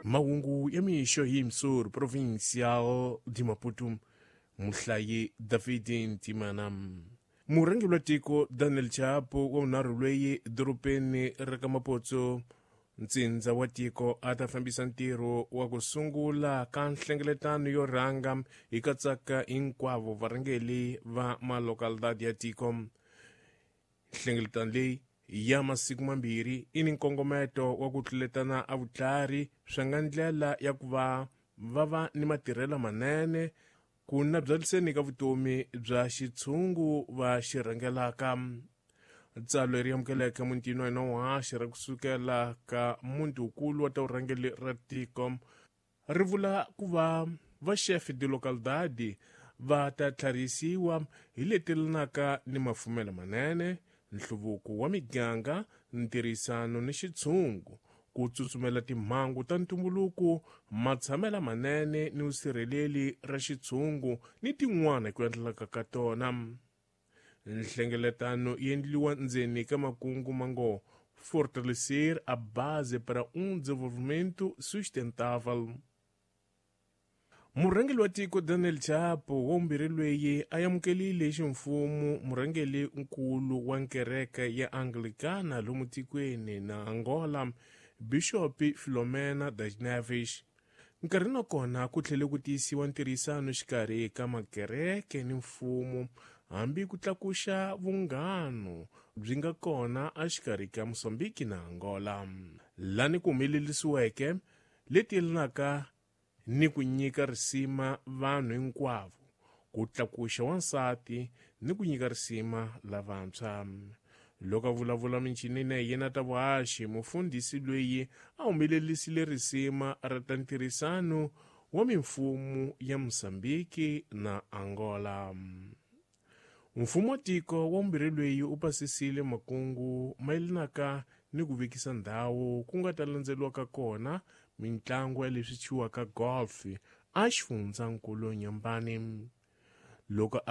Mahungu ya mixo hi Msur Provincial de Maputo, muhlayi David Ntimana. Murhangeri wa tiko Daniel Chapo wa vunharhu lweyi dorobeni ra ka Mapotso, ntsindza wa tiko, a ta fambisa ntirho wa ku sungula ka nhlengeletano yo rhanga hi katsaka hinkwavo varhangeri va malocalidad ya tiko. Nhlengeletano leyi ya masiku mambirhi i ni nkongometo wa ku tluletana a vutlhari swa nga ndlela ya ku va va va ni matirhelo manene ku nabyaliseni ka vutomi bya xitshungu va xi rhangelaka. Tsalwa leri amukeleke mutini wa hina wa ra kusukela ka muti wukulu wa ta vurhangeri ra tiko ri vula ku va va chef de localidade va ta tlharihisiwa hi leti yelanaka ni mafumelo manene, nhluvuko wa miganga, ntirhisano ni xitshungu, ku tsutsumela timhangu ta ntumbuluko, matshamelo manene ni vusirheleli ra xitshungu ni tin'wana hi ku endlelaka ka tona. Nhlengeletano yi endliwa ndzeni ka makungu mango fortalecer a base para um desenvolvimento sustentável. Murhangeri wa tiko Daniel Chapo wa vumbirhi lweyi a amukelile ximfumo murhangeri nkulu wa nkereke ya Anglicana lomu tikweni na Angola, Bishop Filomena das Neves. Nkarhi na kona ku tlhele ku tiyisiwa ntirhisano xikarhi ka makereke ni mfumo, hambi ku tlakuxa vunghano byi nga kona exikarhi ka Mozambique na Angola, lani ku humelerisiweke leti yelanaka ni ku nyika risima vanhu hinkwavo, ku tlakuxa wansati ni ku nyika risima lavantshwa. Loko a vulavula minchinini ya yena ta vuhaxi, mufundhisi loyi a humelerisile risima ra ta ntirhisano wa mimfumo ya Mozambique na Angola. Mfumo wa tiko wa vumbirhi loyi u pasisile makungu mayelanaka ni ku vekisa ndhawu ku nga ta landzeriwaka kona mitlangu ya leswi thyiwaka golf a xifundzankulu Nyambani. Loko